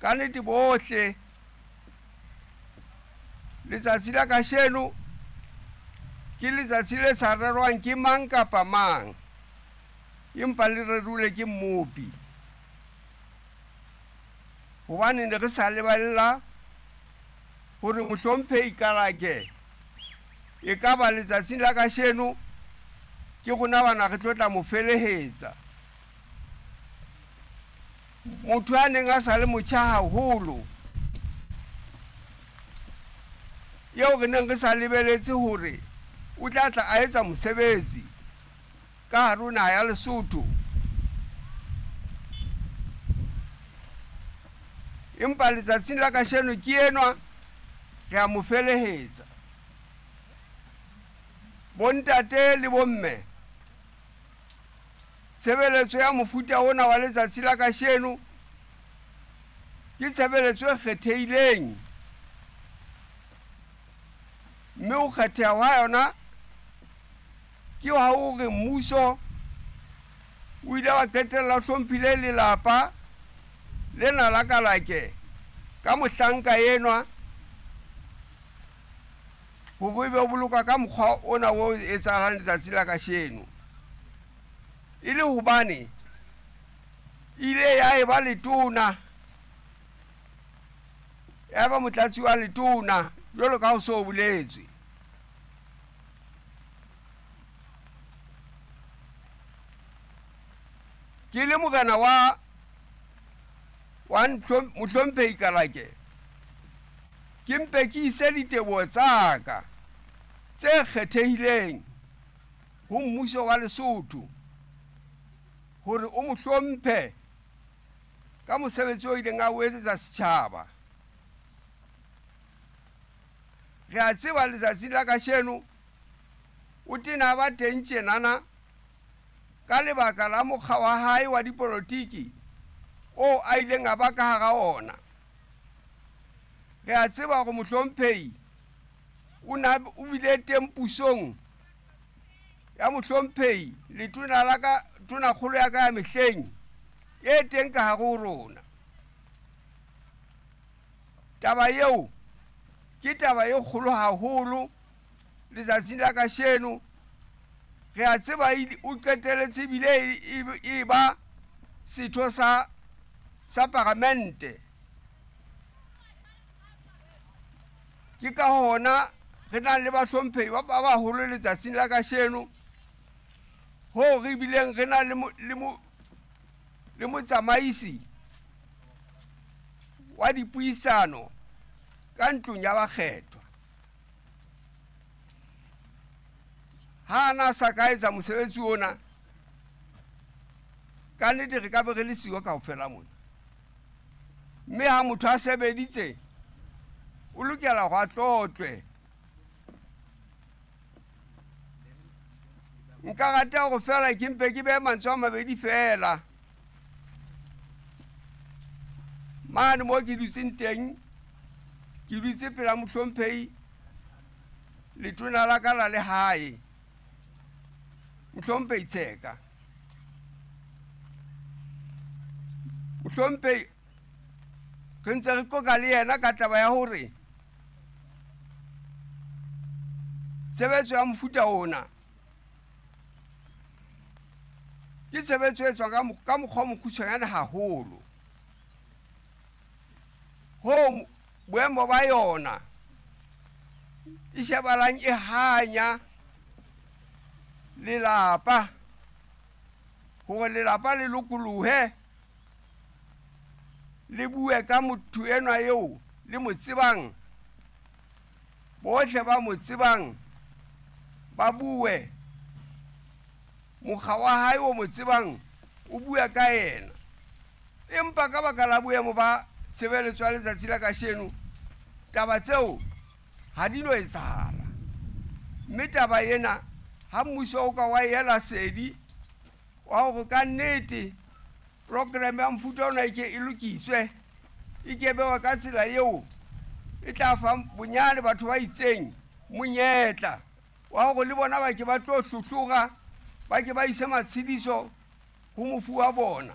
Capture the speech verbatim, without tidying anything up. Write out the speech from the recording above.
Ka nnete bohle letsatsi la kasheno ke letsatsi le sa rerwang ke mang kapa mang, empa le rerilwe ke Mmopi. Hobane ne re sa lebella hore mohlomphehi Kalake e ka ba letsatsing la kasheno ke rona bana re tlo tla mo felehetsa. Motho a neng a sa le motjha haholo, eo re neng re sa lebeletse hore o tla tla a etsa mosebetsi ka hare ho naha ya Lesotho. Empa letsatsing la kasheno ke enwa re a mo felehetsa. Bontate le bomme, tshebeletso ya mofuta ona wa letsatsi la kasheno ke tshebeletso e kgethehileng, mme ho kgetheha hwa yona ke ha hore mmuso o ile wa qetella o hlomphile lelapa lena la Kalake ka mohlanka enwa hore ebe o boloka ka mokgwa ona o etsahalang letsatsi la kasheno. E le hobane ile ya eba letona, ya ba motlatsi wa letona jwalo ka ho so boletswe. Ke le morena wa wa mohlomphehi Kalake, ke mpe ke ise diteboho tsa ka tse kgethehileng ho mmuso wa Lesotho hore o mo hlomphe ka mosebetsi o ileng a o etsetsa setjhaba. Re a tseba letsatsing la kasheno o tena ba teng tjenana ka lebaka la mokga wa hae wa dipolotiki o a ileng a ba ka hara ona. Re a tseba hore mohlomphehi o na o bile teng pusong ya mohlomphehi letona la ka, tonakgolo ya ka ya mehleng e teng ka hare ho rona. Taba eo ke taba e kgolo haholo letsatsing la kasheno. Re a tseba o qeteletse ebile e ba setho sa sa paramente. Ke ka hona re nang le bahlomphehi ba baholo letsatsing la kasheno, hoo re bileng re na le le le motsamaisi wa dipuisano ka ntlong ya bakgethwa. Ha ana sa ka etsa mosebetsi ona, ka nnete re ka be re le siyo kaofela mona. Mme ha motho a sebeditse o lokela ho a tlotlwe. Nka rata hore feela ke mpe ke behe mantswe a mabedi feela. Mane moo ke dutseng teng, ke dutse pela mohlomphehi letona la ka la lehae, mohlomphehi Tsheka. Mohlomphehi re ntse re qoqa le yena ka taba ya hore tshebetso ya mofuta ona ke tshebetso e tswang ka mokgwa o mokgutshwanyane haholo, hoo boemo ba yona e shebalang e hanya lelapa, hore lelapa le lokolohe le bue ka motho enwa eo le mo tsebang, bohle ba mo tsebang ba bue, mokga wa hae o mo tsebang o bue ka yena. Empa ka baka la boemo ba tshebeletso ya letsatsi la kasheno, taba tseo ha di no etsahala. Mme taba ena ha mmuso o ka wa ela sedi wa hore ka nnete program ya mofuta ona e ke e lokiswe, e ke bewa ka tsela eo e tla fa bonyane batho ba itseng monyetla wa hore le bona ba ke ba tlo hlohlora, ba ke ba ise matshediso ho mofu wa bona.